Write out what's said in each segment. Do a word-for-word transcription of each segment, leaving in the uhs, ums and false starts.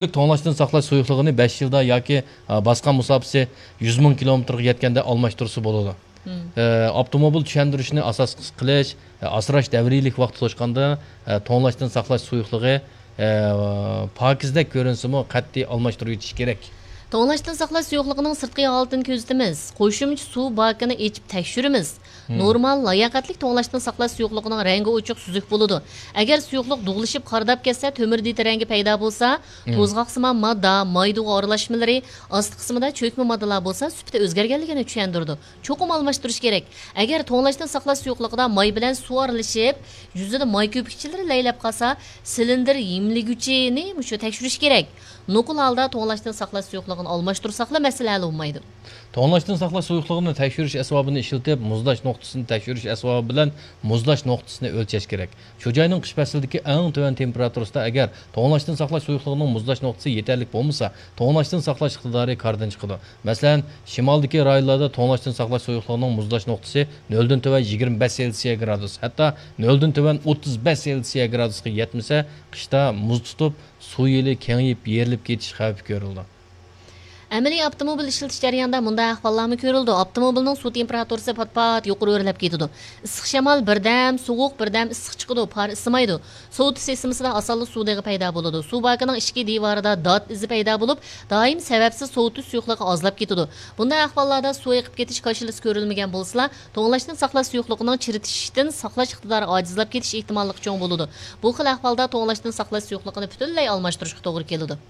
توڭلاشتىن ساقلاش سۇيۇقلۇقىنى بەش يىلدا ياكى، ئا، باسقان مۇساپىسى يۈز مىڭ كىلومېتىرغا يەتكەندە ئالماشتۇرسا بولىدۇ. مم. ئە، ئاپتوموبىل چۈشەندۈرۈشنى ئاساس قىلىش، ئە، ئاسراش دەۋرىيلىك ۋاقتى توشقاندا، ئە، توڭلاشتىن ساقلاش سۇيۇقلۇقى، ئە، پاكىزدەك كۆرۈنسىمۇ، قەتئىي ئالماشتۇرۇۋېتىش كېرەك. توڭلاشتىن ساقلاش سۇيۇقلۇقىنىڭ سىرتقى ھالىتىنى كۆزىتىمىز. قوشۇمچە سۇ باكىنى ئېچىپ تەكشۈرىمىز. مم. نورمال، لاياقەتلىك توڭلاشتىن ساقلاش سۇيۇقلۇقىنىڭ رەڭگى ئوچۇق سۈزۈك بولىدۇ. ئەگەر سۇيۇقلۇق دۇغلىشىپ قارىداپ كەتسە، تۆمۈر دېتى رەڭگى پەيدا بولسا، مم، توزغاقسىمان ماددا، مايدۇغا ئارىلاشمىلىرى، ئاستى قىسمىدا چۆكمە ماددىلار بولسا، سۈپىتى ئۆزگەرگەنلىكىنى چۈشەندۈرىدۇ. چوقۇم ئالماشتۇرۇش كېرەك. ئەگەر توڭلاشتىن ساقلاش سۇيۇقلۇقىدا ماي بىلەن سۇ ئارىلىشىپ، يۈزىدە ماي كۆپۈكچىلىرى لەيلەپ قالسا، سىلىندىر يېملىگۈچىنى مۇشۇ تەكشۈرۈش كېرەك. نوقۇل ھالدا توڭلاشتىن ساقلاش سۇيۇقلۇقىنى ئالماشتۇرساقلا، مەسىلە ھەل بولمايدۇ. توڭلاشتىن ساقلاش سۇيۇقلۇقىنى تەكشۈرۈش ئەسۋابىنى ئىشلىتىپ، مۇزلاش نۇقتىسىنى تەكشۈرۈش ئەسۋابى بىلەن مۇزلاش نۇقتىسىنى ئۆلچەش كېرەك. شۇ جاينىڭ قىش پەسلىدىكى ئەڭ تۆۋەن تېمپېراتۇرىسىدا ئەگەر توڭلاشتىن ساقلاش سۇيۇقلۇقىنىڭ مۇزلاش نۇقتىسى يېتەرلىك بولمىسا، توڭلاشتىن ساقلاش ئىقتىدارى كاردىن چىقىدۇ. مەسىلەن، شىمالدىكى رايونلاردا توڭلاشتىن ساقلاش سۇيۇقلۇقىنىڭ مۇزلاش نۇقتىسى نۆلدىن تۆۋەن يىگىرمە بەش سېلسىيە گرادۇس، ھەتتا نۆلدىن تۆۋەن ئوتتۇز بەش سېلسىيە گرادۇسقا يەتمىسە، قىشتا مۇز تۇتۇپ، سۇ يىلى كېڭىيىپ، يېرىلىپ كېتىش خەۋپى كۆرۈلىدۇ. ئەمەلىي ئاپتوموبىل ئىشلىتىش جەريانىدا مۇنداق ئەھۋاللارمۇ كۆرۈلىدۇ. ئاپتوموبىلنىڭ سۇ تېمپېراتۇرىسى پات-پات يۇقىرى ئۆرلەپ كېتىدۇ. ئىسسىق شامال بىردەم سوغۇق، بىردەم ئىسسىق چىقىدۇ، پار ئىسسىمايدۇ. سوۋۇتۇش سىستېمىسىدا ئاسانلا سۇ دېغى پەيدا بولىدۇ. سۇ باكىنىڭ ئىچكى دىۋارىدا دات ئىزى پەيدا بولۇپ، دائىم سەۋەبسىز سوۋۇتۇش سۇيۇقلۇقى ئازلاپ كېتىدۇ. بۇنداق ئەھۋاللاردا سۇ ئېقىپ كېتىش كاشىلىسى كۆرۈلمىگەن بولسىلا، توڭلاشتىن ساقلاش سۇيۇقلۇقىنىڭ چىرىتىشتىن ساقلاش ئىقتىدارى ئاجىزلاپ كېتىش ئېھتىماللىقى چوڭ بولىدۇ. بۇ خىل ئەھۋالدا توڭلاشتىن ساقلاش سۇيۇقلۇقىنى پۈتۈنلەي ئالماشتۇرۇشقا توغرا كېلىدۇ.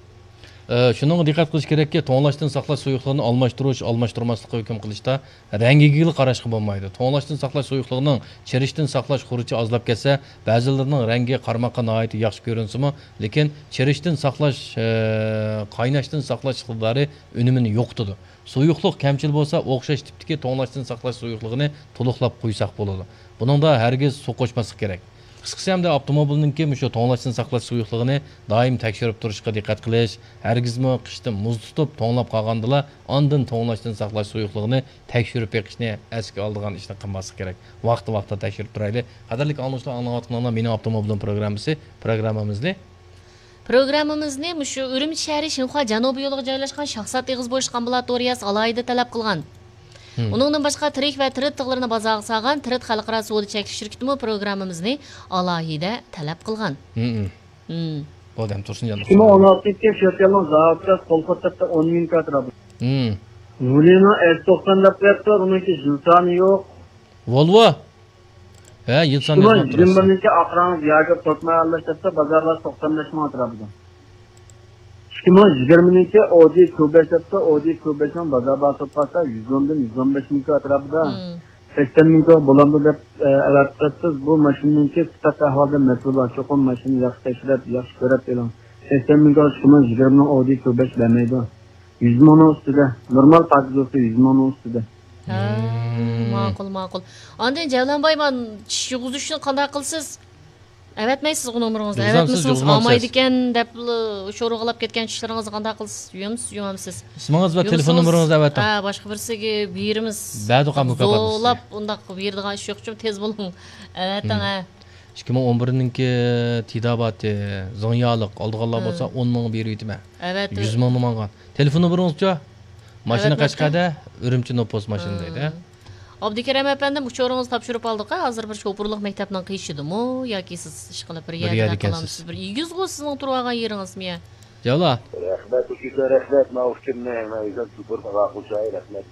ئە، شۇنىڭغا دىققەت قىلىش كېرەككى، توڭلاشتىن ساقلاش سۇيۇقلۇقىنى ئالماشتۇرۇش، ئالماشتۇرماسلىققا ھۆكۈم قىلىشتا رەڭگىگىلا قاراشقا بولمايدۇ. توڭلاشتىن ساقلاش سۇيۇقلۇقىنىڭ چىرىشتىن ساقلاش خۇرۇچى ئازلاپ كەتسە، بەزىلىرىنىڭ رەڭگى قارىماققا ناھايىتى ياخشى كۆرۈنسىمۇ، لېكىن چىرىشتىن ساقلاش، ئە، قايناشتىن ساقلاش ئىقتىدارى ئۈنۈمىنى يوقىتىدۇ. سۇيۇقلۇق كەمچىل بولسا، ئوخشاش تىپتىكى توڭلاشتىن ساقلاش سۇيۇقلۇقىنى تولۇقلاپ قۇيساق بولىدۇ. بۇنىڭدا ھەرگىز سۇ قوشماسلىق كېرەك. قىسقىسى، ئەمدى ئاپتوموبىلنىڭكى مۇشۇ توڭلاشتىن ساقلاش سۇيۇقلۇقىنى دائىم تەكشۈرۈپ تۇرۇشقا دىققەت قىلىش، ھەرگىزمۇ قىشتا مۇز تۇتۇپ، توڭلاپ قالغاندىلا، ئاندىن توڭلاشتىن ساقلاش سۇيۇقلۇقىنى تەكشۈرۈپ بېقىشنى ئەسكە ئالىدىغان ئىشنى قىلماسلىق كېرەك. ۋاقتى ۋاقتىدا تەكشۈرۈپ تۇرايلى. قەدىرلىك ئاڭلىغۇچىلار، ئاڭلاۋاتقىنىڭلار مېنىڭ ئاپتوموبىلىم پروگراممىسى، پروگراممىمىزنى. پروگراممىمىزنى مۇشۇ ئۈرۈمچى شەھىرى شىنخۇا جەنۇبىي يولىغا جايلاشقان شاھزات ئېغىز بوشلۇق ئامبۇلاتورىيەسى ئالاھىدە تەلەپ قىلغان. مم. ئۇنىڭدىن باشقا، تىرىك ۋە تىرىت تىغلىرىنى بازارغا سالغان تىرىت خەلقئارا سودا چەكلىك شىركىتىمۇ پروگراممىمىزنى ئالاھىدە تەلەپ قىلغان. مم. مم. بولدى، ئەمدى تۇرسۇنجان ئىككى مىڭ ئون ئالتىنچى يىلى شىنخۇا جەنۇبىي يولىغا جايلاشقان شاھزات ئېغىز بوشلۇق ئامبۇلاتورىيەسى ئالىي ئېتىبارلىق. مم. ۋۇلىنىڭ ئېس توقسان دەپ قويۇپتۇ، بۇنىڭكى يىل سانى يوق. ۋولۋو. ھە، يىل سانى يازماپتۇ راست. ئىككى مىڭ يىگىرمە بىرىنچى ئاخىرىڭىز ياكى توسما ئەللەش دەپتۇ، بازارلار توقسان بەش مىڭ ئەتراپىدا. ئىككى مىڭ يىگىرمىنىڭكى ئودى كيۇ بەش دەپتۇ، ئودى كيۇ بەشنىڭ بازار باھاسى بولسا يۈز ئوندىن يۈز ئون بەش مىڭ ئەتراپىدا. مم. سەكسەن مىڭ بولامدۇ دەپ، ئە، ئەۋەتىپسىز. بۇ ماشىنىنىڭكى سۈپەت ئەھۋالىدا مەسىلە بار. چوقۇم ماشىنىنى ياخشى تەكشۈرۈپ، ياخشى كۆرۈپ ئېلىڭ. سەكسەن مىڭ ئىككى مىڭ يىگىرمىنىڭ ئودى كيۇ بەش بەرمەيدۇ. يۈز مىڭنىڭ ئۈستىدە. نورمال پاكىز بولسا يۈز مىڭنىڭ ئۈستىدە. ھە، مم. ماقۇل، ماقۇل. ئاندىن جەۋلانباي، مانا چىش يۇغۇزۇشنى قانداق قىلىسىز؟ ئەۋەتمەيسىزغۇ نومۇرىڭىزنى؟ يۇغۇزامسىز، ئەۋەتمىسىڭىز يۇغۇزمامسىز؟ ئالمايدىكەن دەپلا شورىغىلاپ كەتكەن چىشلىرىڭىزنى قانداق قىلىسىز؟ يۇيامسىز، يۇيمامسىز؟ ئىسمىڭىز ۋە تېلېفون نومۇرىڭىزنى ئەۋەتىڭ. ھە، باشقا بىرسىگە بېرىمىز. بەردۇق مۇكاپات بولسا. زورلاپ ئۇنداق بېرىدىغان ئىش يوق، چۈم تېز بولۇڭ. ئەۋەتىڭ، مم. ھە. ئىككى مىڭ ئون بىرنىڭكى تېداباتى، زىڭيالىق ئالىدىغانلار ھە. بولسا ئون مىڭ بېرىۋېتىمەن. ئەۋەتىڭ. يۈز مىڭنى ماڭغان. تېلېفون نومۇرىڭىزچۇ؟ ماشىنا ئەۋەتمەپتۇ. قەشقەردە، ئۈرۈمچى نوپۇس ماشىنا دەيدۇ، ھە؟ ئابدۇكېرەم ئەپەندىم، ئۇچۇرىڭىزنى تاپشۇرۇپ ئالدۇق، ھە؟ ھازىر بىر شوپۇرلۇق مەكتەپنىڭ قېشىدىمۇ ياكى سىز ئىشقىلىپ بىر بىر يەردە يەردە قالامسىز؟ ئىكەنسىز. بىر ئېگىزغۇ سىزنىڭ تۇرۇۋالغان يېرىڭىزمۇ يە؟ ياۋلا. رەھمەت، ئۇچۇردا رەھمەت، ماۋۇ ئۇچۇرنى مەن ئۆزۈم شوپۇر ئالاقە قىلىشاي، رەھمەت.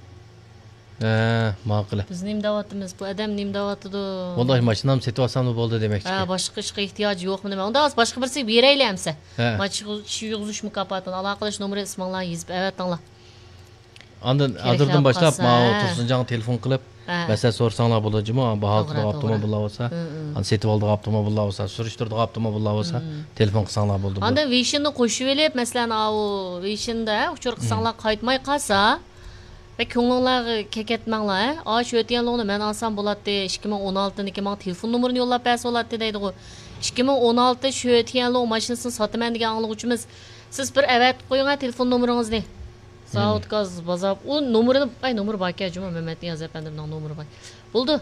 ھە، ماقۇل. بىز نېمە دەۋاتىمىز؟ بۇ ئادەم نېمە دەۋاتىدۇ؟ ۋاللاھى، ماشىنامنى سېتىۋالسام بولدى دېمەكچىكەن. ھە، باشقا ئىشقا ئېھتىياجى يوقمۇ نېمە؟ ئۇنداق بولسا باشقا بىرسىگە بېرەيلى ئەمسە. ھە. ما چىش يۇغۇزۇش مۇكاپاتىنى ئالاقىلىشىش نومۇرى ئىسمىڭلارنى يېزىپ ئەۋەتىڭلار. ئاندىن كېرەك ھازىردىن بولۇپ باشلاپ قالسا، ماۋۇ ھە. تۇرسۇنجانغا تېلېفون قىلىپ، ھە. مەسىلە سورىساڭلار بولىدۇ جۇمۇ، باھا توغرا، قىلىدىغان توغرا. ئاپتوموبىللار بولسا، ھە، ھە. ئاندىن سېتىۋالىدىغان ئاپتوموبىللار بولسا، ھە. تېلېفون قىلساڭلار بولىدۇ. ئاندىن ۋېيشىننى قوشۇۋېلىپ، مەسىلەن، ئاۋۇ ۋېيشىندا، ھە، ئۇچۇر قىلساڭلار ھە. قايتماي قالسا، بەك كۆڭلۈڭلارغا كەكەتمەڭلار، ھە. ئا، شۆتيەنلۇڭنى مەن ئالسام بولاتتى، ئىككى مىڭ ئون ئالتىنىڭكى ماڭا تېلېفون نومۇرىنى يوللاپ بەرسە بولاتتى دەيدىغۇ. ئىككى مىڭ ئون ئالتە شۆتيەنلۇڭ ماشىنىسىنى ساتىمەن دېگەن ئاڭلىغۇچىمىز. سىز بىر ئەۋەتىپ قويۇڭ، ھە، تېلېفون نومۇرىڭىزنى. مم. زاۋۇت گاز بازار. ئۇ نومۇرىنى، ئاي، نومۇرى باركەن جۇمۇ، مەمەت نىياز ئەپەندىمنىڭ نومۇرى بار. بولدى.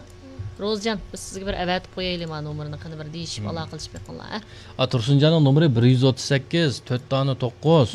روزىجان، بىز سىزگە بىر ئەۋەتىپ قويايلى ما نومۇرىنى، قېنى بىر دېيىشىپ، ئالاقىلىشىپ بېقىڭلار، ھە؟ ئا، تۇرسۇنجاننىڭ نومۇرى بىر يۈز ئوتتۇز سەككىز، تۆت دانە توققۇز.